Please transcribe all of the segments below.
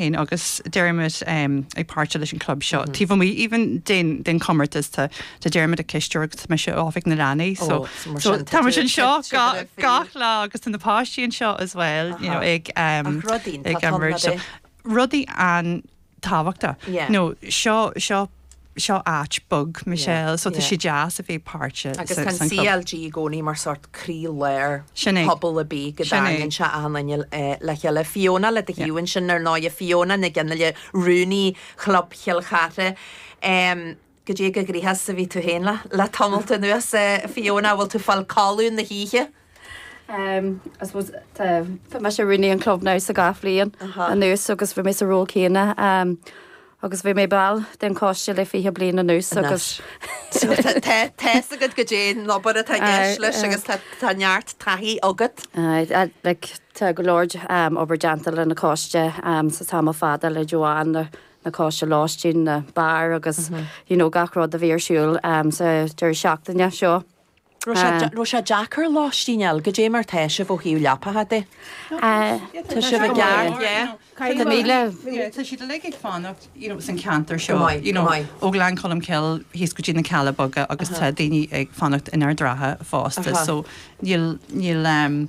Féin agus Dermot ag páirteach leis an club seo. Taobh amuigh even den den chomórtas tá tá Dermot ag cisteoir agus tá mise i oifig na leanaí so so tá muid anseo gach lá agus tá na páistí anseo as well you know ag ag imirt so rudaí an-tábhachtach. You know seo seo seo áit beag Michelle so tá sé deas a bheith páirteach Agus tá an san club. CLG i gcónaí mar sórt croí-lár Sin é. pobal ar bith go Sin é. dtarraingíonn sé achan duine le chéile. Fiona le do thaobh ansin ar ndóighe, Fiona Nic Fhionnghaile, Rúnaí Chlub Chill Chartha. Goidé chomh gnoitheach is a bhí tú féin le tamalt anuas, Fiona, bhfuil tú ag fáil codladh na hoíche? I suppose tá tá mise rúnaí an club now sa gach bhliain anuas agus bhí mé sa ról céanna agus bhí mé ball den choiste le 20 bliain anuas agus So tá tá tá's agat goidé an obair atá i gceist leis agus tá tá neart taithí agat. Aye, like tá go leor obair déanta le na coiste sa tamall fada le Joanne, na na coiste lóistín, na bar agus you know gach rud a bhí ar siúl sa deireadh seachtaine seo. Raibh sé deacair lóistín a fháil, goidé mar tá sibh ó thaobh leapacha de? Tá sibh i gceart, yeah. Tá míle. Tá siad uilig ag fanacht, you know, san ceantar seo, you know, ó Ghleann Cholm Cille thíos go dtí na Cealla Beaga agus tá daoine ag fanacht in Ard Ratha fosta, so níl, níl, ehm.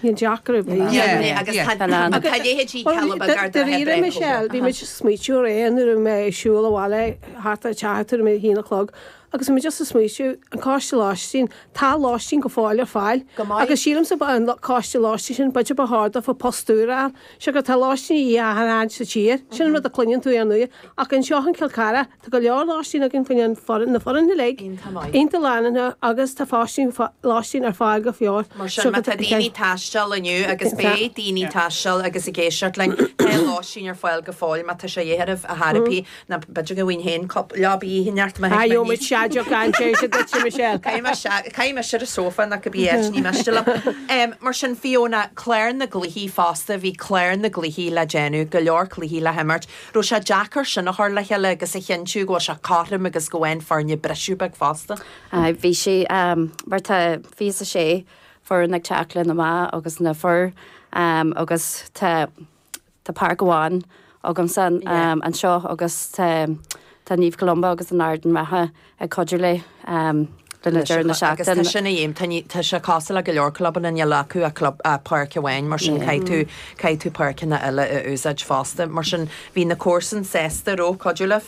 Níl deacair ar bith. Yeah, Agus tá tá leithéidí Cealla Beaga Ard Ratha Dáiríre, Michelle, bhí muid ag smaoitiú aréir nuair a bhí mé ag siúl abhaile thart ar teach tuairim a haon a chlog Agus bhí mé just ag smaoitiú, an coiste lóistín, tá lóistín go fóill ar fáil. Go maith. Agus sílimse ba an coiste lóistín sin, b'fhéidir ba chóir daofa post úr a fháil. Siocair tá lóistín a dhíth achan áit sa tír. Sin an rud a cluineann tú ar ndóigh. Ach anseo in Cill Chartha, tá go leor lóistín againn faoin an foireann, na foireann uilig. Iontach maith. Iontach lán agus tá fóistín, lóistín ar fáil go fóill. Mar sin, má tá daoine ag taisteal inniu, agus beidh daoine ag taisteal agus ag éisteacht linn, tá lóistín ar fáil go fóill má tá sé de dhíth oraibh a thairbhí. Ná b'fhéidir go bhfaighinn féin cúpla leaba oíche má Ah, gheobhaidh muid seadeach an-deis duit, Michelle. Caithfidh mise ar an sófa nó cibé áit, ní miste liom. Mar sin, Fiona, clár na gcluichí fosta, bhí clár na gcluichí le déanamh, go leor cluichí le himirt. Raibh sé deacair sin a chur le chéile agus a chinntiú go bhfuil sé cothrom agus go bhfaigheann foirne briseadh beag fosta? Aye, bhí sé, mar tá 26 foireann ag teacht le na mná agus na fir agus tá, Tá páirc amháin agamsa anseo agus tá Naomh Columba agus an Ard an Rátha ag cuidiú le le na deireadh na Agus seachtaine. tá sin a dhéanamh, tá ní, tá sé cosúil le go leor clubanna, níl acu ach club, ach páirc amháin, mar sin caithfidh tú, caithfidh tú páirceanna eile a úsáid fosta. Mar sin bhí na comharsana sásta, raibh, cuidiú libh?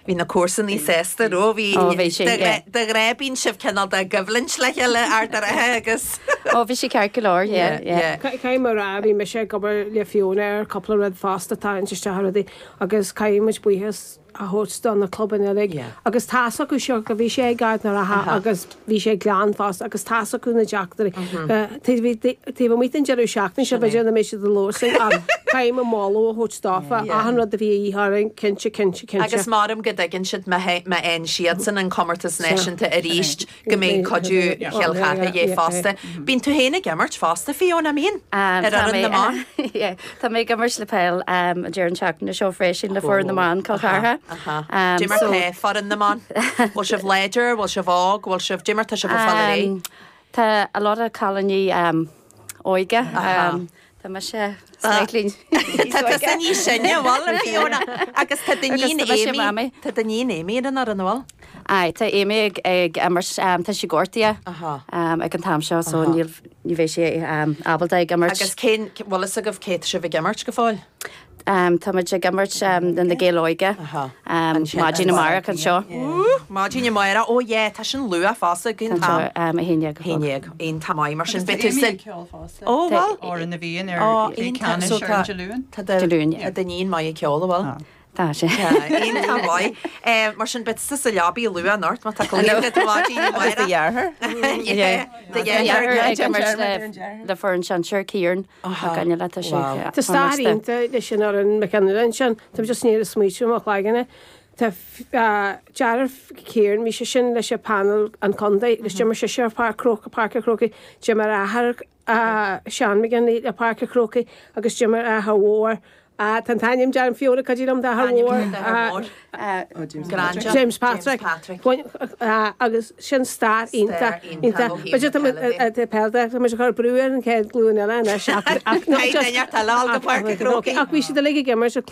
Bhí na comharsanaí sásta, raibh? Bhí, Ó, bhí sé, de yeah. de ghnáth bíonn sibh cineál de i gcoimhlint le chéile, Ard an Rátha agus. Ó, bhí sé ceart go leor, yeah, yeah. Yeah. Caithfidh mé a rá, bhí mise ag obair le Fiona ar cúpla rud fosta, tarraingt isteach rudaí agus caithfidh muid buíochas a thabhairt do na clubanna uilig Yeah. agus tá's acu seo go bhí sé ag Ard an Rátha agus bhí sé ag Gleann fosta agus tá's acu na deacrachtaí. Taobh taobh amuigh den deireadh seachtaine seo b'fhéidir nach mbeidh siad ag labhairt linn ach caithfidh mé moladh a thabhairt dófa, achan rud a bhí a dhíth orainn, cinnte, cinnte, cinnte. Agus measaim go dtuigeann siad má fhaigheann siadsan an comórtas náisiúnta arís go mbeidh cuidiú Chill Chartha de dhíth fosta. Bíonn tú féin ag imirt fosta, Fiona, an mbíonn? Ar fhoireann na mban? Tá mé ag imirt le peil an deireadh seachtaine seo freisin le foireann na mban Cill Chartha. Dé mar tá foireann na mban? Bhfuil sibh láidir? Bhfuil sibh óg? Bhfuil sibh, dé mar tá sibh ag fáil ar aghaidh? Tá a lot of cailíní óige. Tá mise slightly Tá tusa níos sine, an bhfuil, a Fiona? Agus tá d'iníon Amy, tá d'iníon Amy ar an fhoireann, an bhfuil? Aye, tá Amy ag ag imirt, tá sí gortaithe ag an t-am seo so níl, ní bheidh sí ábalta ag imirt. Agus cén, bhfuil fhios agaibh cé tá sibh ag imirt go fóill? Tá muid ag imirt le na Gaeil Óige maidin amárach anseo. Maidin amárach, ó yeah, tá sin luath fosta, cén t-am? A haon déag a chlog. 11, iontach maith, mar sin beidh tú Agus sa. tá Amy ag ceol fosta. Ó bhfuil? Amhrán na bhFiann ar cluiche ceannais ar an Dé Luain. Tá Dé Luain, yeah. Tá d'iníon maith ag ceol, an bhfuil? Tá sé. Iontach maith. Mar sin beidh tusa sa leabaidh luath anocht má tá cluiche agat maidin amárach. Agus do dheartháir? Yeah. Do dheartháir ag imirt le foireann sinsir Kieran. Ach an le tá sé. Tá stair iontach leis an fhoireann McKinley ansin. Tá mé just i ndiaidh smaoitiú i mo chloigeann. Tá deartháir Kieran, bhí sé sin leis an panel an contae agus d'imir sise ar Pháirc Chrócaigh, Páirc an Chrócaigh. D'imir a athair Seán McGinley le Páirc an Chrócaigh agus d'imir a athair mhór. Tá an t-ainm dearmad Fiona cuidigh liom d'athair mhór. James Patrick. Agus sin stair iontach. Iontach. B'fhéidir tá muid tá muid ag cur brú ar an chéad ghlúin eile anois ach ach bhí siad uilig ag imirt.